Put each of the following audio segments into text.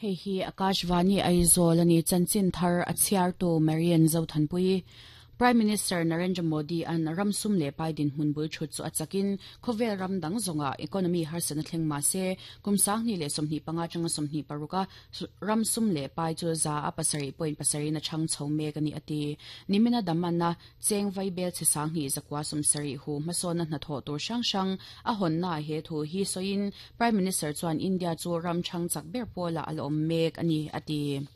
Hei hi Akashvani Aizawl a ni. Chanchin thar a chhiartu Marian Zothanpuii. Prime Minister Narendra Modi an ram sum leh pai dinhmun bul thut chu a chakin khawvel ram dang zawngah economy harsatna thleng mah se kum 2025 atanga 26 a ram sum leh pai chu 7.7 in a chhang chho mek a ni a ti. Nimina Daman-a Cheng vaibel chhe 2970 hu hmasawnna hnathawh tur hrang hrang a hawnnaah he thu hi sawiin Prime Minister chuan India chu ram chhang chak ber pawlah a la awm mek a ni, a ti.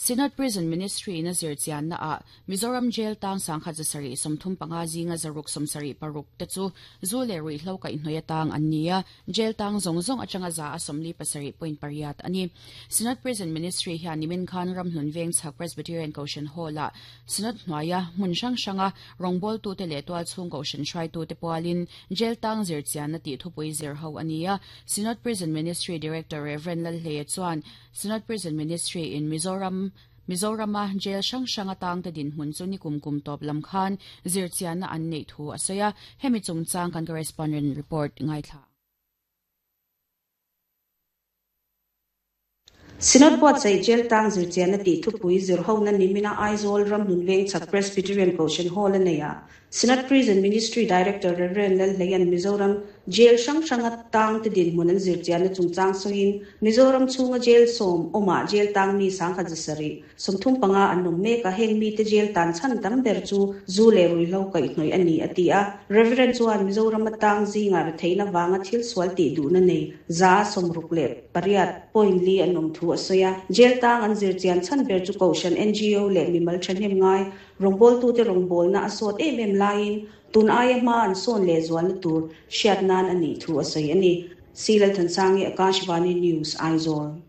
Synod Prison Ministry in a zir chiannaah Mizoram Jail tang 1735 zinga 676 te chu zu leh ruihhlo kaihhnawih atang an ni a, Jail tang zawng zawng atanga 47.8 a ni. Synod Prison Ministry hian nimin khan Ramhlun Vengchhak Presbyterian Kohhran Hall-ah Synod hnuaia hmun hrang hranga rawngbawltute leh tualchhung kohhran hruaitute pualin Jail tang zir chianna tih thupui zir ho a ni a. Synod Prison Ministry Director Rev. Lalhleia chuan Synod Prison Ministry in Mizoram Mizorama jail hrang hranga tangte dinhmun chu nikum kum tawp lam khan zir chianna an neih thu a sawi a. Hemi chungchang kan correspondent report ngaithla. Synod buatsaih Jail tang zirchianna tih thupui zirhona nimina Aizawl Ramhlun Vengchhak Presbyterian Kohhran Hall a nei a. Synod Prison Ministry Director Rev. Lalhleia'n Mizoram Jail hrang hranga tangte dinhmun an zirchianna chungchang sawiin Mizoram chhunga jail 10 awmah jail tang mi 1735 an awm mek a, heng mite jail tan chhan tam ber chu zu leh ruihhlo kaihhnawih a ni, a ti a. Reverend chuan Mizorama tang zingah retheihna vanga thil sual tih duhna nei 68.4 an awm thu a sawi a. Jail tang an zir chian chhan ber chu Kohhran NGO leh mimal thahnem ngai rawngbawltute rawngbawlna a sawt em em laiin tun aia hma an sawn leh zualna tur hriat nan a nih thu a sawi a ni. C Lalthansangi, Akashvani News, Aizawl.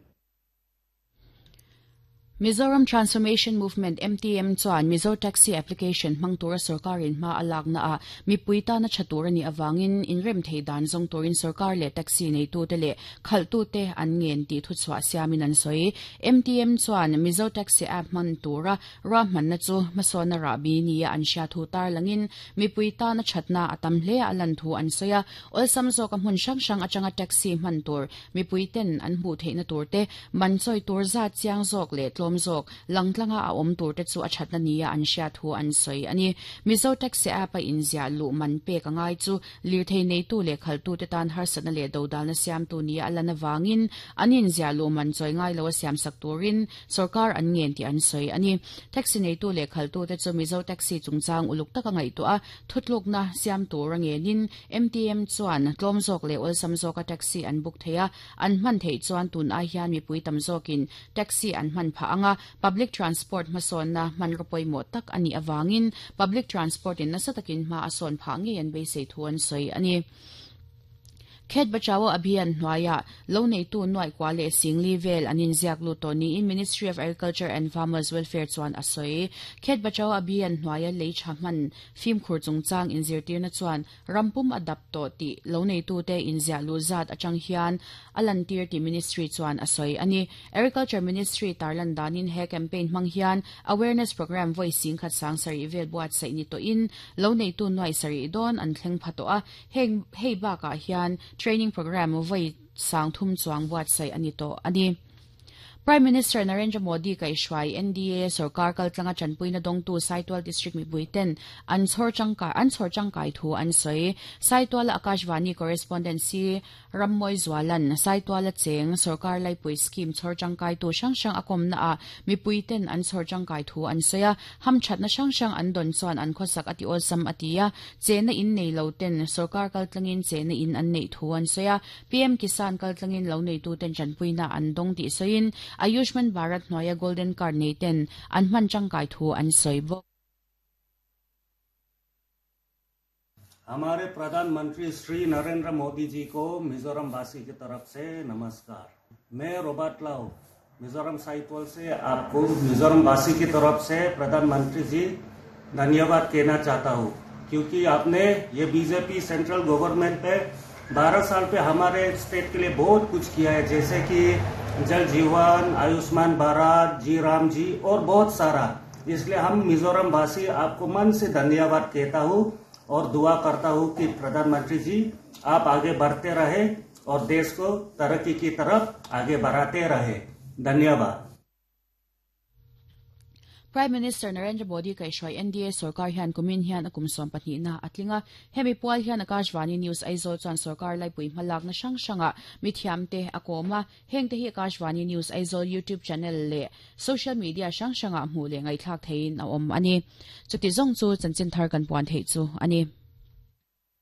Mizoram Transformation Movement, MTM, chuan Mizo Taxi Application hmang tura sorkarin hma a laknaah mipui tana tha tur a nih avangin inrem thei dan zawng turin sorkar leh taxi neitute leh khalhtute an ngen tih thuchhuah siamin an sawi. MTM chuan Mizo Taxi App hman tura ruahmanna chu hmasawnna rahbi nia an hria thu tarlangin mipui tana thatna a tam hle a lan thu an sawi a. Awlsam zawka hmun hrang hrang atanga taxi hman tur mipui ten an hmuh theihna tur te, man chawi tur zat chiang zawk leh tlawm zawk langtlanga a awm tur te chu a thatna nia an hria thu an sawi a ni. Mizo Taxi App a inziah luh man pek a ngai chu lirthei neitu leh khalhtute tan harsatna leh dodalna siamtu nia a lan avangin an inziah luh man chawi ngai lo a siamsak turin Sorkar an ngen tih an sawi a ni. Taxi neitu leh khalhtute chu Mizo Taxi chungchang uluk taka ngaihtuah a, thutlukna siam tur a ngenin MTM chuan tlawm zawk leh awlsam zawka taxi an book thei a, an hman theih chuan tun ai hian mipui tam zawkin taxi an hman phah ang a, public transport hmasawnna hmanraw pawimawh tak a nih avangin public transport in nasa takin hma a sawn phah ngei an beisei thu an sawi a ni. Khet Bachao Abhiyan hnuaiah lo neitu nuaih kua leh singli vel an inziak lut tawh niin Ministry of Agriculture and Farmers Welfare chuan a sawi. Khet Bachao Abhiyan hnuaia lei tha hman fimkhur chungchang inzirtirna chuan ram pum a dap tawh tih lo neitute inziah luh zat atang hian a lantir tih Ministry chuan a sawi a ni. Agriculture Ministry tarlan danin he campaign hmang hian awareness programme vawi 17,000 vel buatsaih ni tawhin lo neitu nuaih sarih dawn an thleng pha tawh a. Heng hei bakah hian training programme vawi 3000 chuang buatsaih a ni tawh a ni. Prime Minister Narendra Modi kaihhruai NDA sorkar kaltlanga tanpuina dawngtu Saitual District mipuiten an chhawr tangkai an chhawr tangkai thu an sawi. Saituala Akashvani Correspondent C Rammawi Zualan Saituala cheng sorkar laipui scheme chhawr tangkaitu hrang hrang a kawmnaah mipuiten an chhawr tangkai thu an sawi a, hamthatna hrang hrang an dawn chuan an khawsak a ti awlsam a ti a. Chehna in nei lo ten sorkar kaltlangin chehna in an neih thu an sawi a, PM Kisan kaltlangin lo neituten tanpuina an dawng tih sawiin Ayushman Bharat hnuaia Golden Card nei ten an hman tangkai thu an sawi bawk. हमारे प्रधानमंत्री श्री नरेंद्र मोदी जी को मिजोरम वासी की तरफ से नमस्कार। मैं रॉबर्ट लाउ मिजोरम साइतवाल से आपको मिजोरम वासी की तरफ से प्रधानमंत्री जी धन्यवाद कहना चाहता हूँ, क्योंकि आपने ये BJP central government पे 12 साल पे हमारे स्टेट के लिए बहुत कुछ किया है, जैसे कि जल जीवन, आयुष्मान भारत, जी राम जी और बहुत सारा। इसलिए हम मिजोरम वासी आपको मन से धन्यवाद कहता हूँ और दुआ करता हूँ कि प्रधानमंत्री जी आप आगे बढ़ते रहे और देश को तरक्की की तरफ आगे बढ़ाते रहे। धन्यवाद। Prime Minister Narendra Modi kaihhruai NDA sorkar hian kumin hian a kum 12 na a tling a. Hemi pual hian Akashvani News Aizawl chuan sorkar laipui hmalakna hrang hrangah mithiamte a kawm a. Hengte hi Akashvani News Aizawl YouTube channel leh social media hrang hrangah hmuh leh ngaihthlak theihin a awm a ni. Chuti zawng chu chanchin thar kan puan theih chu a ni.